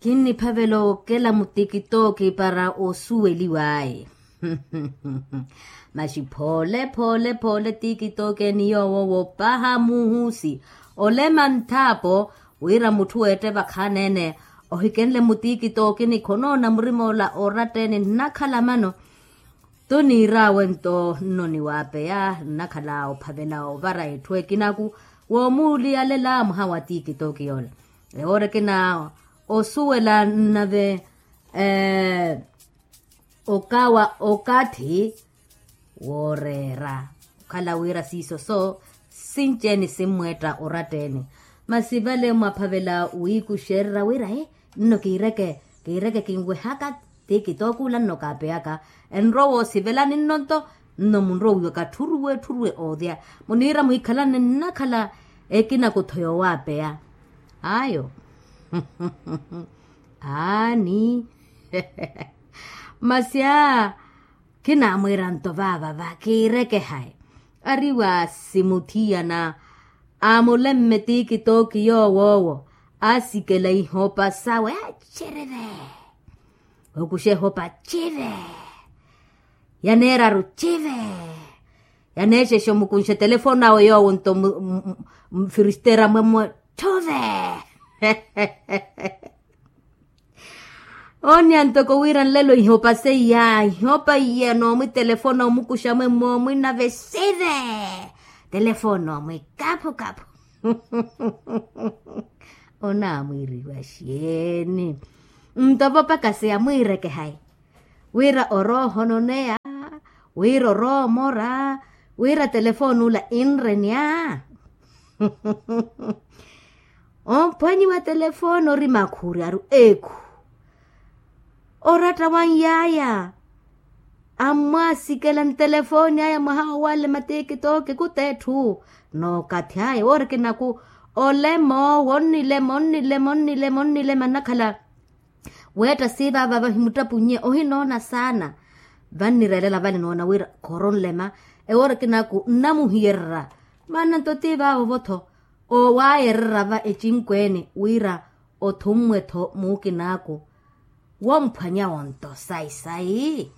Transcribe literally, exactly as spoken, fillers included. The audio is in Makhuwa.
Kinniphavela okela mutikitooki para osuweliw'aye. Masi phoole phoole phoole tikitooki eni yoowo wopaha muhusi, olema nthaapo wira mutthu weette vakhaani-ene ohikenle mutiikitookini khonoona murima ola oratta-ene nnakhala mano. Tuniir'awe nto nno niwaapeya nnakhala ophavela ovara etthu ekinaku woomuuliyalela mwaha wa tiikitooki yoola. Ewoora ekina osuwela nnave okawa okathi wooreera okhala wira siiso so sinci-ene simmweetta oratta-ene. Masi vale mwaphavela wiikuxererya wira e nno kiireke kiireke kinwehaka ti kitookuula nno kaapeyaka. Enrowa osivelani nno nto nno munrowiwaka tthuruwe tthuruwe oodya muniira mwiikhalani nnakhala ekina kutho yoowaapeya ayo. Aani masi a khinaamwiira nto vaavava kiirekehayi. Ariwa simuthiyana amulemme tikitooki yoowoowo asikela ihopa sawe acereve. Okuxa ehopa cive yaneeraru cive. Yaneexexa omukunxa etelefono awe yoowo nto mfiristera mwemwe thuve. Ooniya ntoko wira nlelo ihopa seiya ihopa iya noomwitelefona omukuxa mwemmo omwinave sive. Telefona omwi kaphu kaphu. Onaamwiiriwa xeeni? Nto vopakasi yamwiirekehayi wira oroohononeya wira oroomora wira telefoni ula inrenya. Omphwanyiwa telefoni ori makhuryaru ekhu oratta wa nyaaya ammwasikela ntelefoni aya mwaha owanle matikitooki kutetthu. Nookathi aya woorikinaku olema owo onnilema onnilema onnilema onnilema nnakhala weetta siivaava vahimuttapunnye ohinoona saana. Vannireelela vale noona wira khooronlema ewoorikinaku nnamuhiyererya maana nto ti vaavo-tho owaayererya va ecinkweene wira othummwe-tho muukinaaku womphwanya wonto sayi sayi.